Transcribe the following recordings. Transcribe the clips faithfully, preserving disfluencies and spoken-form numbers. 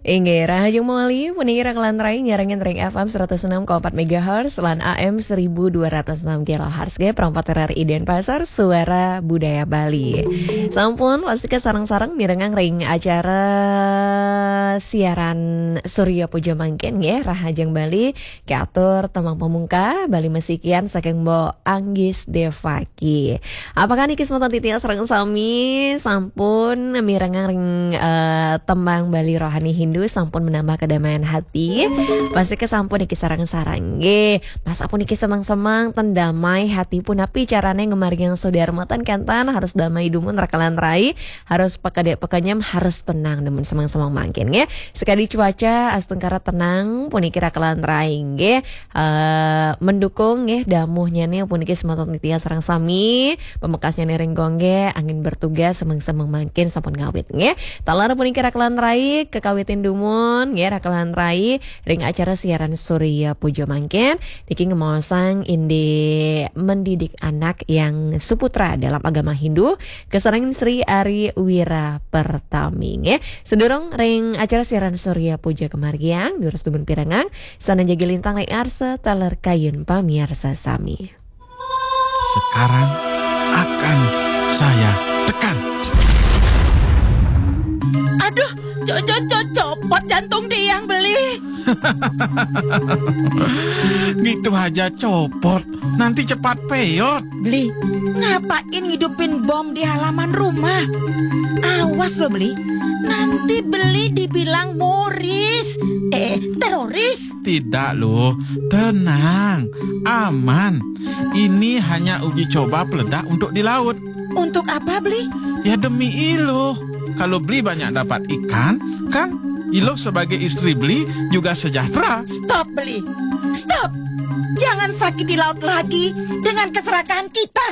Inggih, rahajeng moli, puniki Rakelan Rai nyarengin ring F M seratus enam koma empat megahertz lan A M seribu dua ratus enam kilohertz, nggih, perangkat R R I Denpasar, Suara Budaya Bali. Sampun, wastika sareng-sareng mirengang ring acara siaran Surya Puja mangkin, nggih, rahajeng Bali, katur tembang pamungka, Bali Masikian saking Mbok Anggis Devaki. Apakah niki semeton titiang sareng sami sampun mirengang ring, eh, tembang Bali Rohani Hindu sampun menambah kedamaian hati? Pasti kesampun niki sareng-sareng. Nggih, masa puniki semang-semang ten damai hati punapi carane ngemargiang saudara mboten kenten, harus damai dumun Rakelan Rai, harus pekedek pekenyem, harus tenang dumun semang-semang mangkin nggih. Sekadi cuaca astungkara tenang puniki Rakelan Rai nggih, eh, mendukung nggih damuhnyane puniki semeton titiang sareng sami. Pamekasnyane ring gong nggih, angin bertugas semeng-semeng mangkin sampun ngawit nggih. Taler puniki Rakelan Rai kekawitin dumun nggih, Rakelan Rai ring acara siaran Surya Puja mangkin niki ngemaosang indik mendidik anak yang suputra dalam agama Hindu, kasarengin Sri Ari Wira Pertami nggih. Sedurung ring acara siaran Surya Puja kamargiang, durus dumun pirengang, sane jagi lintang ring arsa taler kayun pamiarsa sami. Sekarang akan saya tekan. Aduh, co-, co-, co-, copot jantung tiang, Beli. Gitu aja copot, nanti cepat peyot. Beli, ngapain ngidupin bom di halaman rumah? Awas lo, Beli, nanti Beli dibilang moris, eh, teroris. Tidak loh, tenang, aman. Ini hanya uji coba peledak untuk di laut. Untuk apa, Beli? Ya demi Iluh. Kalau Beli banyak dapat ikan, kan Iluh sebagai istri Beli juga sejahtera. Stop, Beli. Stop. Jangan sakiti laut lagi dengan keserakahan kita.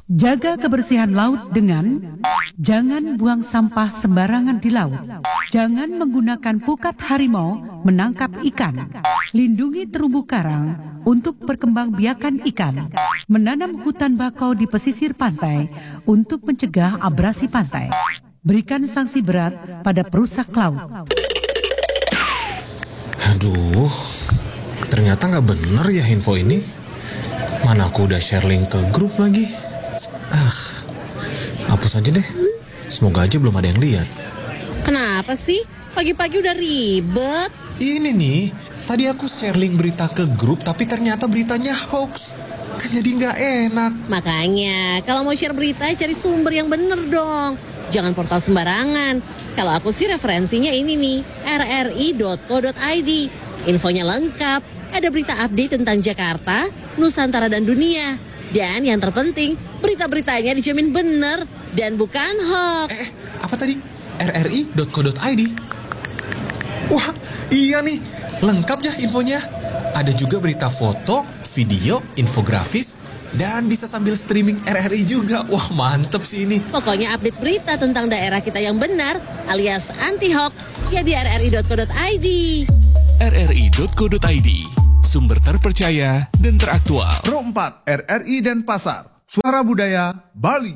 Jaga kebersihan laut dengan jangan buang sampah sembarangan di laut. Jangan menggunakan pukat harimau menangkap ikan. Lindungi terumbu karang untuk perkembangbiakan ikan. Menanam hutan bakau di pesisir pantai untuk mencegah abrasi pantai. Berikan sanksi berat pada perusak laut. Aduh, ternyata nggak bener ya info ini. Mana aku udah share link ke grup lagi. Ah, hapus aja deh. Semoga aja belum ada yang lihat. Kenapa sih? Pagi-pagi udah ribet. Ini nih, tadi aku share link berita ke grup, tapi ternyata beritanya hoax. Kan jadi nggak enak. Makanya, kalau mau share berita, cari sumber yang bener dong. Jangan portal sembarangan. Kalau aku sih referensinya ini nih, R R I dot co dot I D. Infonya lengkap, ada berita update tentang Jakarta, Nusantara dan dunia. Dan yang terpenting, berita-beritanya dijamin bener dan bukan hoax. Eh, eh, apa tadi? R R I dot co dot I D. Wah, iya nih, lengkap ya infonya. Ada juga berita foto, video, infografis, dan bisa sambil streaming R R I juga. Wah, mantep sih ini. Pokoknya update berita tentang daerah kita yang benar alias anti hoax ya di R R I dot co dot I D. R R I dot co dot I D, sumber terpercaya dan teraktual. Pro empat R R I Denpasar, Suara Budaya Bali.